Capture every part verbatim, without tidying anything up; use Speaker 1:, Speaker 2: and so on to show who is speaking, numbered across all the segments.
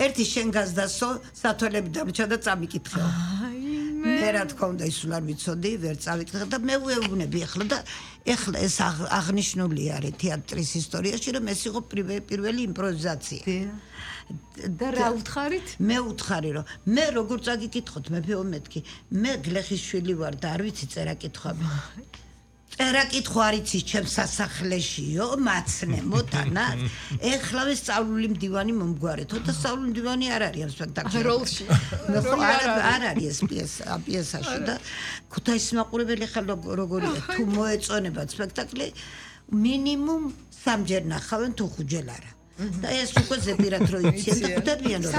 Speaker 1: ერთი შენ გაზდასო სათვალები დამრჩა და წამიკითხეო მე რა თქმა უნდა ის არ ვიცოდი ვერ წავიკითხე და მე ვეუბნები ახლა და ეხლა ეს აღნიშნული არის თეატრის ისტორიაში რომ ეს იყო პირველი იმპროვიზაცია
Speaker 2: და რა უთხარით?
Speaker 1: მე უთხარი რომ მე როგორ წაგიკითხოთ მეფეო მეთქი მე გლეხის შვილი ვარ და არ ვიცი წერა კითხვა წერა კითხვა არ იცის ჩემს სასახლეშიო მაცნემო თანაც ეხლავე სწავლული მდივანი მომგვარეთო და სწავლული მდივანი არ არის ამ სპექტაკლში
Speaker 2: როლში
Speaker 1: არ არის ეს პიესა პიესაში და ქუთაისის მაყურებელი ხალ როგორია თუ მოეწონებათ სპექტაკლი მინიმუმ სამჯერ ნახავენ თუ ხუთჯერ არა და ეს უკვე ზეპირად რო იციან და ხვდებიან რომ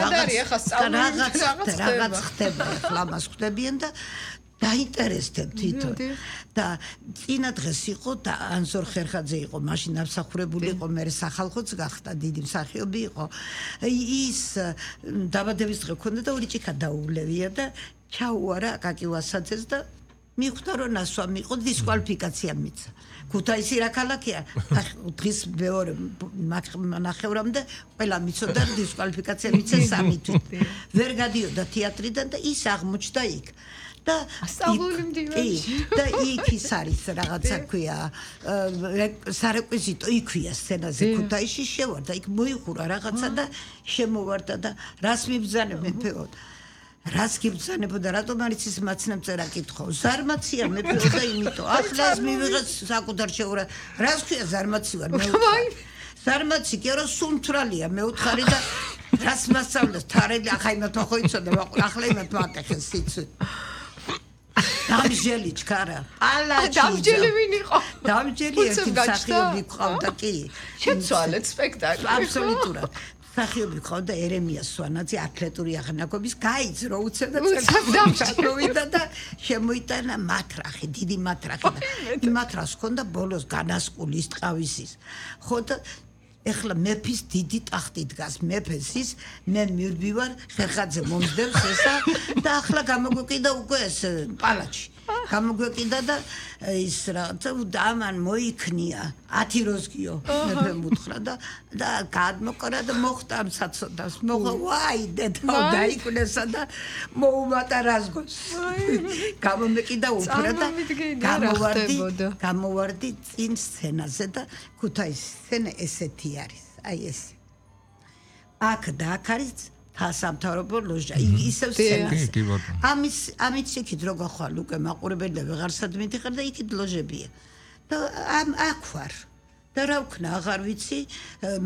Speaker 1: რაღაც რაღაც ხდება ახლა მას ხვდებიან და დაინტერესდებ თვითონ და წინა დღეს იყო და ანზორ ხერხაძე იყო მაშინ ამსახურებული იყო მე სახალხოც გახდა დიდი მსახიობი იყო ის დაბადების დღე ქონდა და ორი ჭიქა დაუვლევია და ჩაუარა აკაკი ვასაძეს და მიხვდა რომ ნასვამი იყო დისკვალიფიკაცია მიცა ქუთაისი რა ქალაქია დღის მეორე ნახევრამდე ყველა მიცოდა დისკვალიფიკაცია მიცა სამი თვით ვერ გადიოდა თეატრიდან და ის აღმოჩნდა იქ და
Speaker 2: სწავლული მდივანში
Speaker 1: და იქ ის არის რაღაცა ქვია სარეკვიზიტო იქვია სცენაზე ქუთაისში შევარდა იქ მოიხურა რაღაცა და შემოვარდა და რას მიბრძანებ მეფეო რას გიბრძანებოდა რატომ არის ის მაცნემ წერა კითხო ზარმაცია მეფეო და იმიტომ ახლა ეს მივიღეთ საკუთარ შეურა რას ქვია ზარმაცი ვარ მე ზარმაცი კი არა სუნთრალია მე უთხარი და რას მასწავლეს თარელი ახლა იმათ ხო იცოდა ახლა იმათ მაკეხეს სიცი დამჯელი ჩქარა პალაჩი
Speaker 2: დამჯელი ვინ იყო
Speaker 1: დამჯელი ერთი მსახიობი ყავდა კი
Speaker 2: შეცვალეთ სპექტაკლი
Speaker 1: აბსოლუტურად მსახიობი ყავდა ერემია სვანაძე ათლეტური აღნაგობის გაიძრო უცებ და წელს და შემოიტანა მათრახი დიდი მათრახი და მათრას ჰქონდა ბოლოს განასკულის ტყავისის ხო და ეხლა მეფის დიდი ტახტი დგას მეფეს ის მე მირბივარ ხერხაძე მომძდებს ესა და ახლა გამოგვეკიდა უკვე ეს პალაჩი გამოგვეკიდა და ის რაღაცა ამან მოიქნია ათი როზგიო მეფემ უთხრა და და გადმოყარა და მოხდა ამ საცოდას მოხდა ვაი დედა დაიკვნესა და მოუმატა რაზგოს გამომეკიდა უფრა და გამოვარდი გამოვარდი წინ სცენაზე და ქუთაისის სცენა ესეთი არის აი ეს აქ და აქ არის სამთავრობო ლოჟა ისევ სცენაზე ამის ამით იქით რო გახვალ უკვე მაყურებელი ვეღარსად მიდიხარ და იქით ლოჟებია და ამ აქ ვარ და რა ვქნა აღარ ვიცი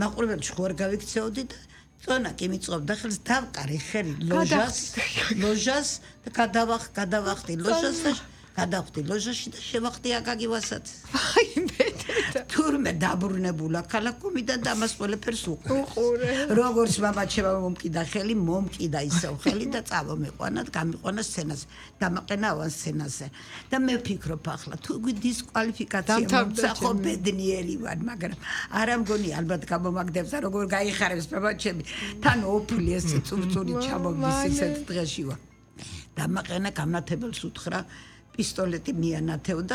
Speaker 1: მაყურებელში ხوار გავიქცეოდი და წონა კი მიწყობდა ხელს დავყარი ხელი ლოჟას ლოჟას და გადავახ გადავახდი ლოჟას და გადავხდი ლოჟაში და შევახდი აკაკი ვასაძეს
Speaker 2: აი მე
Speaker 1: თურმე დაბრუნებულა ქალაქომიდან და ამას ყველაფერს უყურე როგორც მამაჩემა მომკიდა ხელი მომკიდა ისევ ხელი და წავომეყვანა გამიყვანა სცენაზე დამაყენა ავან სცენაზე და მე ვფიქრობ ახლა თუ დისკვალიფიკაცია მომცა ხო ბედნიერი ვარ მაგრამ არა მგონი ალბათ გამომაგდებს როგორ გაიხარებს მამაჩემი თან ოფლი ეს წურწური ჩამოვდის ისეთ დღეში ვარ დამაყენა გამნათებელს უთხრა პისტოლეტი მიანათევდა